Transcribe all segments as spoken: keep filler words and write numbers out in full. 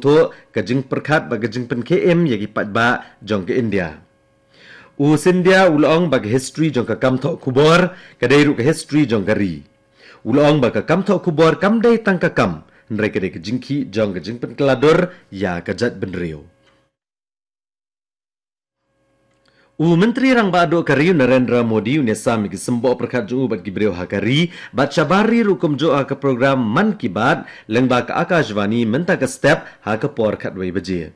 thoh ka jingpyrkhat bad ka jingpynkhie im ïa ki paidbah jong ka India. U Scindia u la ong ba ka history jong ka kam thoh khubor ka dei ruh ka history jong ka ri. U la ong ba ka kam thoh khubor kam dei tang ka kam, hynrei ka dei ka jingkhih jong ka jingpynkylla dur ïa ka jaitbynriew. U Myntri Rangbah Duh ka ri u Narendra Modi u ïasam ïa ki symboh pyrkhat jong u bad ki briew ha ka ri bad shabar ri ruh kumjuh ha ka program Mann Ki Baat lyngba ka Akashvani mynta ka step ha ka por khatwei baje.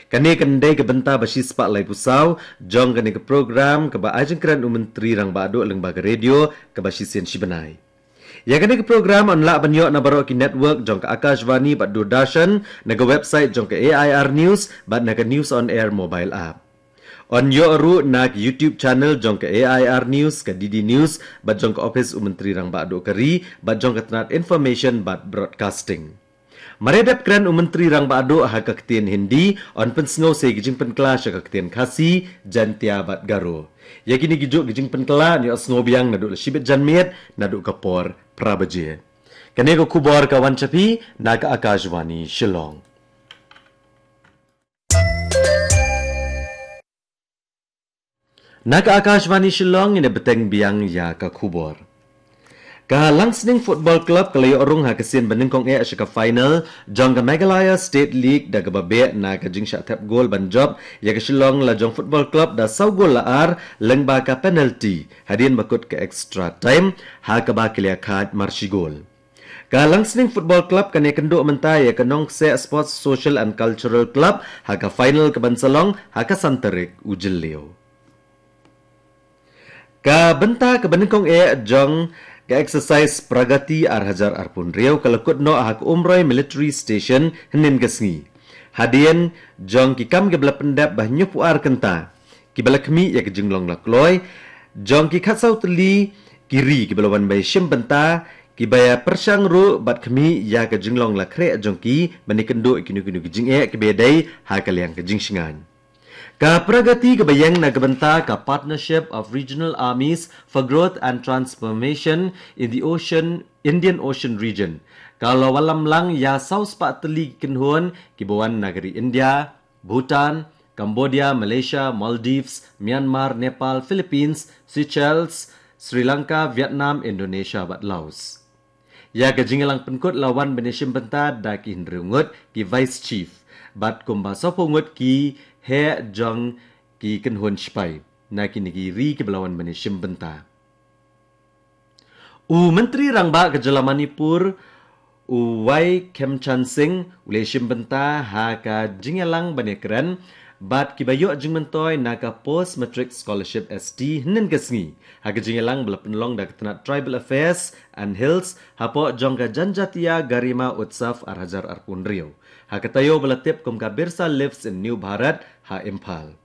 Kane kan dei ka bynta ba shispah laiphew saw jong kane ka program kaba ai jingkren u Myntri Rangbah Duh lyngba ka radio kaba shisien shi bnai. Ïa kane ka program yn lah ban ïoh na baroh ki network jong ka Akashvani bad Doordarshan, na ka website jong ka A I R News bad na ka News on Air mobile app. Yn ïoh ruh na ka YouTube channel jong ka A I R News, ka D D News bad jong ka Office u Myntri Rangbah Duh ka ri bad jong ka tnat Information bad Broadcasting. Mar ïa dep kren u Myntri Rangbah Duh ha ka ktien Hindi, yn pynsngew sa ïa ki jingpynkylla sha ka ktien Khasi, Jaintia bad Garo. Ïa kine kijuh ki jingpynkylla yn ïohsngew biang naduh la shibit janmiet naduh ka por phra baje. Kane ka khubor ka wan sha phi na ka Akashvani Shillong. Na ka Akashvani Shillong ngin ïa bteng biang ïa ka khubor. Ka Langsning Football Club ka la ïoh rung ha ka sien ba nyngkong eh sha ka final jong ka Meghalaya State League da kaba beh na ka jingshah thep gol ban jop ïa ka Shillong Lajong Football Club da saw gol la ar lyngba ka penalty hadien ba kut ka extra time ha kaba ki la ïakhaid mar shi gol. Ka Langsning Football Club kan ïakynduh mynta ïa ka Nongkseh Sports Social and Cultural Club ha ka final kaban sa long ha ka san tarik u Jylliew. Ka bynta kaba nyngkong eh jong ka exercise Pragati ar hajar arphew hynriew ka la kut noh ha ka Umroi Military Station hynnin ka sngi. Hadien jong ki kam kiba la pyndep ba hynñiewphew ar kynta kiba la khmih ïa ka jinglong la kloi jong ki khatsaw tylli ki ri kiba la wan ban shim bynta, kiba ïa pyrshang ruh bad khmih ïa ka jinglong la khreh jong ki ban ïakynduh ïa kino kino ki jingeh kiba ïadei ha ka liang ka jingshngaiñ. Ka Pragati kaba ïeng na ka bynta ka Partnership of Regional Armies for Growth and Transformation in the Ocean, Indian Ocean Region ka la wallam lang ïa saw spah tylli ki kynhun kiba wan na ka ri India, Bhutan, Cambodia, Malaysia, Maldives, Myanmar, Nepal, Philippines, Seychelles, Sri Lanka, Vietnam, Indonesia bad Laos. Ïa ka jingïalang pynkut la wan ban ïashim bynta da ki hynriew ngut ki Vice Chief bad kumba sawphew ngut ki heh jong ki kynhun shipai na kine ki ri kiba la wan ban ïashim bynta. U Myntri Rangbah ka Jylla Manipur, u Y Khemchand Singh, u la ïashim bynta ha ka jingïalang ban ïakren bad kiba ïoh jingmyntoi na ka Post Matric Scholarship S T hynnin ka sngi ha ka jingïalang ba la pynlong da ka tnat Tribal Affairs and Hills hapoh jong ka Janjatiya Garima Utsav ar hajar arphew hynriew ha ka taïew ba la tip kum ka Birsa Lives in New Bharat ha Imphal.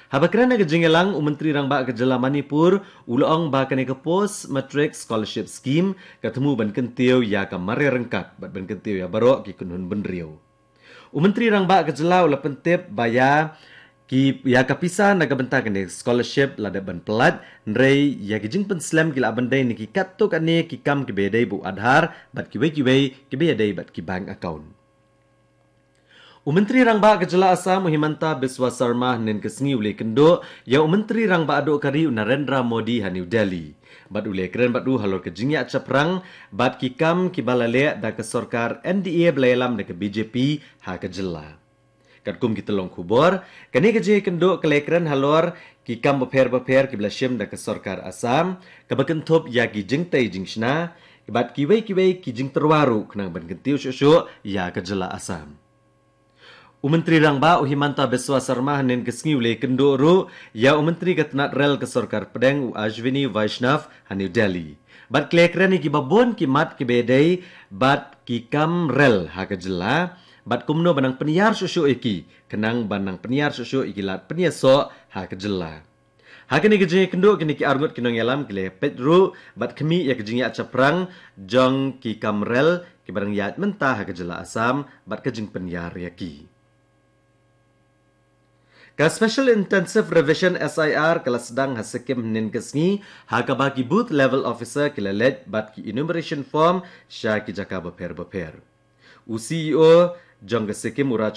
Haba kren ha ka jingïalang, u Myntri Rangbah ka Jylla Manipur u la ong ba kane ka Post Matric Scholarship Scheme ka thmu ban kyntiew ïa ka mareh ryngkat bad ban kyntiew ïa baroh ki kynhun bynriew. U Myntri Rangbah ka Jylla u la pyntip ba ïa ki, ïa ka pisa na ka bynta kane ka scholarship la dep ban pyllait, hynrei ïa ki jingpynslem ki la ban dei na ki katto katne ki kam kiba ïadei bad u Aadhaar bad kiwei kiwei kiba ïadei bad ki bank account. U Myntri Rangbah ka Jylla Assam u Himanta Biswa Sarma hynnin ka sngi u la ïakynduh ïa u Myntri Rangbah duh ka ri u Narendra Modi ha New Delhi bad u la ïakren bad u halor ka jingïaid shaphrang bad ki kam kiba la leh da ka sorkar N D A ba la ïalam da ka B J P ha ka jylla. Katkum ki tyllong khubor, kane ka jingïakynduh ka la ïakren halor ki kam bapher bapher kiba la shim da ka sorkar Assam kaba kynthup ïa ki jingtei jingshna bad kiwei kiwei ki jingtyrwa ruh khnang ban kyntiew shuh shuh ïa ka jylla Assam. U Myntri Rangbah u Himanta Biswa Sarma hynnin ka sngi u la ïakynduh ruh ïa u Myntri ka tnat rel ka sorkar pdeng u Ashwini Vaishnaw ha New Delhi bad ki la ïakren ïa kiba bun ki mat kiba ïadei bad ki kam rel ha ka jylla bad kumno ban nang pynïar shuh shuh ïa ki khnang ban nang pynïar shuh shuh ïa ki lad pynïasoh ha ka jylla. Ha kane ka jingïakynduh kine ki arngut ki nongïalam ki la peit ruh bad khmih ïa ka jingïaid shaphrang jong ki kam rel kiba dang ïaid mynta ha ka jylla Assam bad ka jingpynïar ïa ki. Ka Special Intensive Revision S I R ka la sdang ha Sikkim hynnin ka sngi ha kaba ki booth level officer ki la leit bad ki enumeration form sha ki jaka bapher bapher. U C E O jong ka Sikkim, u Raj